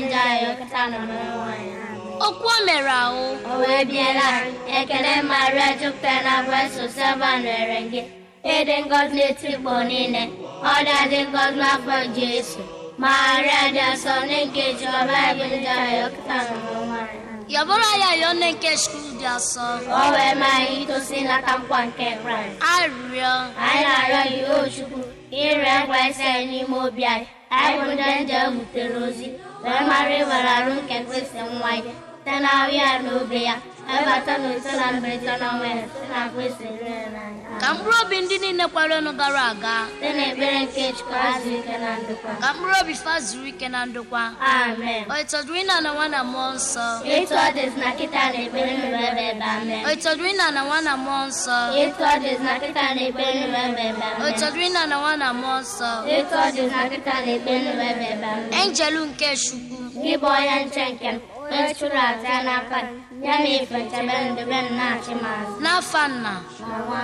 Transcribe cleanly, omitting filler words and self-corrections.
njọ anyị okịta na ọmụmụ anyị. Amen. Okwu o mere ahụ. O wee biela anyị, ekele Maria jupụtara na Grace Oseba nwere gị. Ịdị ngọzi n'etiti igbo niile, ọ dị ngọzi n'afọ Jesu. Maria dị nsọ nne nke Jehova bụ ndị anyị okịta na ọmụmụ anyị. Amen. Yabụrụ ya yọọ nne nke Chukwu dị asọ. Ka o wee mee anyị itosi nlata nkwa nke Kraịst. Arịrịọ. Anyị na-arịọ gị o Chukwu ka ịrịọ nkwa isi anyị n'ime obi anyị. Anyị bụ ndị nje butere ozi wee mara ịwere arụ nke Kristi nwa ya site na ahụ ya na obi ya ebata na ise na mberede n'ọnwa ya site na Kristi rere n'anya. Ka mkpụrụ obi ndị niile kwerenụ gara aga. Site n'ekpere nke Chukwu azụ ike na ndokwa. Ka mkpụrụ obi fa zuru ike na ndokwa. Amen. O ịtọdụrụ ịna na nwa na mmụọ nsọ. Etu ọ dịzị na kịta na ekpere nụrụ ebe ebe amen. O ịtọdụrụ ịna na nwa na mmụọ nsọ. Etu ọ dịzị na kịta na ekpere nụrụ ebe ebe O amen. ịtọdụrụ ịna na nwa na mmụọ nsọ. Etu ọ dịzị na kịta na ekpere nụrụ ebe ebe amen. Enjelu nke Chukwu. Gị bụ onye nche nke m, onye chụrụ aja n'aka gị, ya na ife nchebe ndebe m na-achị m azụ. N'afa nna. Na nwa.